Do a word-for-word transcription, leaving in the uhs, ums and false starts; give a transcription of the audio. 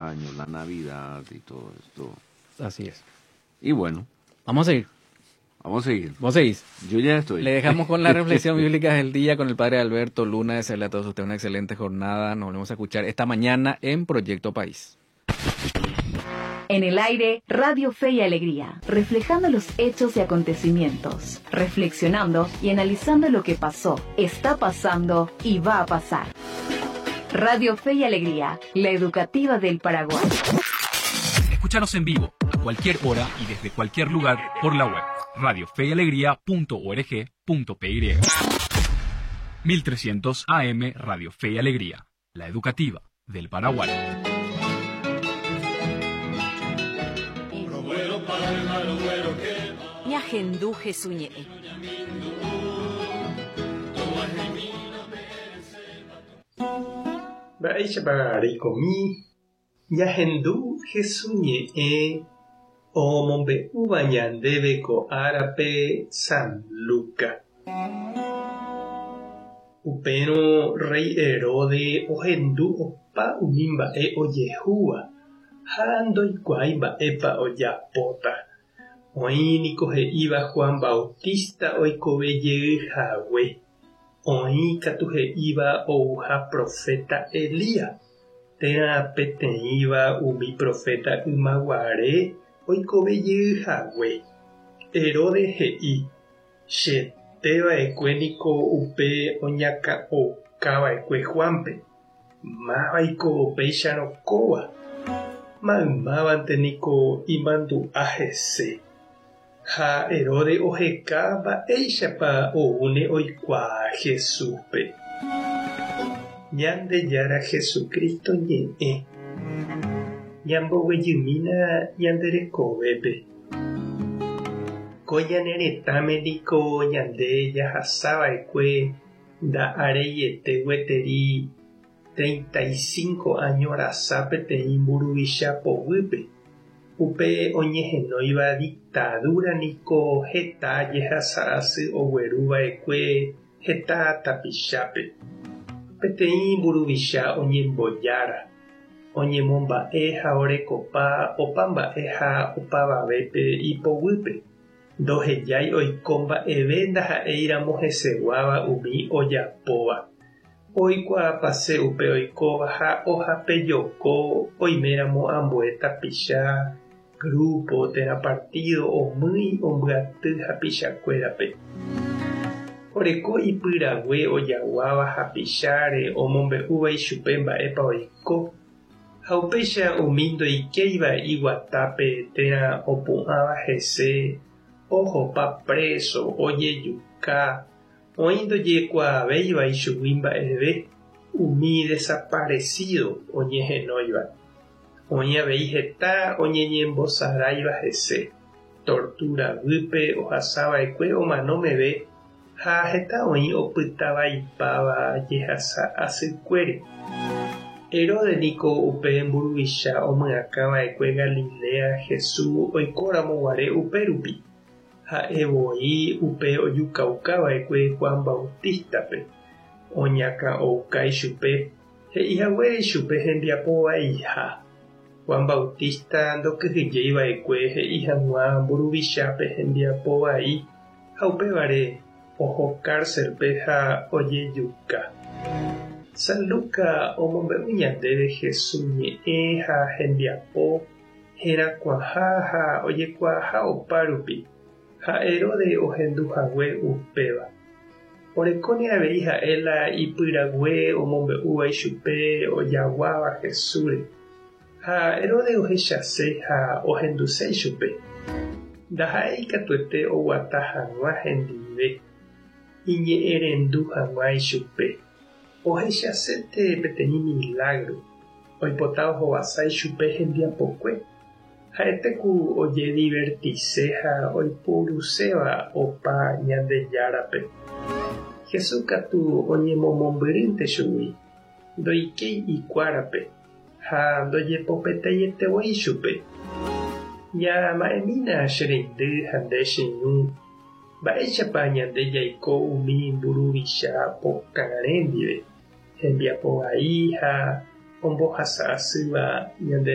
Año, la Navidad y todo esto. Así es. Y bueno. Vamos a seguir. Vamos a seguir. ¿Vos seguís? Yo ya estoy. Le dejamos con la reflexión bíblica del día con el padre Alberto Luna. Desearle a todos ustedes una excelente jornada. Nos volvemos a escuchar esta mañana en Proyecto País. En el aire, Radio Fe y Alegría, reflejando los hechos y acontecimientos, reflexionando y analizando lo que pasó, está pasando y va a pasar. Radio Fe y Alegría, la educativa del Paraguay. Escúchanos en vivo, a cualquier hora y desde cualquier lugar por la web radio fe y alegría punto org punto p y. mil trescientos A M Radio Fe y Alegría, la educativa del Paraguay. Ñahendu Jesús ñe'ẽ. Mba'éichapa reikomi Ñahendu Jesús ñe'ẽ omombe'úva ñandéve ko árape San Luca. Upérõ rey Herode ohendu opa umi mba'e ojehúva ha ndoikuaái mba'épa ojapóta. Oĩ niko he'íva Juan Bautista oikovejeyhague. Oĩ katu he'íva ouha profeta Elías, térã peteĩva umi profeta ymaguare oikovejeyhague. Herode he'i, cheteva'ekue niko upe oñakã'okava'ekue Juanpe, mávaiko upéicharõ kóva, maymávante niko imandu'a hese. Ha Herode oheka mba'éichapa oúne oikuaa Jesúspe. Ñandejára Jesucristo ñe'ẽ. Ñamboguejymína ñanderekovépe. Ko ñane retãme niko ñande jahasava'ekue nda'areiete gueteri treinta y cinco año rasa peteĩ mburuvicha poguýpe. Upe oñehenóiva dictadura niko heta jehasa'asy ogueruva'ekue heta tapichápe. Peteĩ mburuvicha oñembojára, oñemomba'e ha orekopa opa mba'e ha opavavépe ipoguýpe. Ndohejái oiko mba'eve ndaha'éiramo heseguáva umi ojapóva. Oikuaapase upe oikóva ha ohapejoko oiméramo ambue tapicha, grupo térã partido omýi ombyaty hapichakuérape. Oreko ipyrague ojaguáva hapicháre omombe'úva ichupe mba'épa oiko ha upéicha umi ndoikéiva iguatápe térã opu'ãva hese ohopa preso, ojejuka, oĩ ndojekuaavéiva ichugui mba'eve umi desaparecido oñehenóiva. Oĩ avei heta oñeñembosaráiva hese, tortura guýpe ohasava'ekue omano meve ha heta oĩ opytavaipáva jehasa asykuére. Herode niko upe mburuvicha omyakãva'ekue Galilea Jesús oikóramoguare upérupi. Ha'e voi upe ojukaukava'ekue Juan Bautistape. Oñakã'ouka ichupe, he'ihaguére ichupe hembiapovaiha. Juan Bautista ndokyhyjeiva'ekue he'i hag̃ua mburuvichápe hembiapovai ha upévare oho cárcelpe ha ojejuka. San Luca omombe'u ñandéve Jesús ñe'ẽ ha hembiapo herakuãha ha ojekuaaha opárupi. Ha Herode ohenduhague upéva. Orekóne avei ha'e la ipyrague omombe'úva ichupe ojaguáva Jesúsre. Ha Herode ohechase ha ohenduse ichupe. Ndaha'éi katuete oguata hag̃ua hendive, iñe'ẽrendu hag̃ua ichupe. Ohechasete peteĩ milagro, oipota ohovasa ichupe hembiapokue. Ha'ete ku ojedivertise ha oipuruséva opa Ñandejárape. Jesús katu oñemomombyrýnte chugui, ndoikéi ikuárape ha ndojepopeteietevoi chupe. Ñama'ẽmína che reindy ha nde che ñu, mba'éichapa ñande jaiko umi mburuvicha pokarẽ ndive, hembiapovai ha Ombohasa asýva ñande.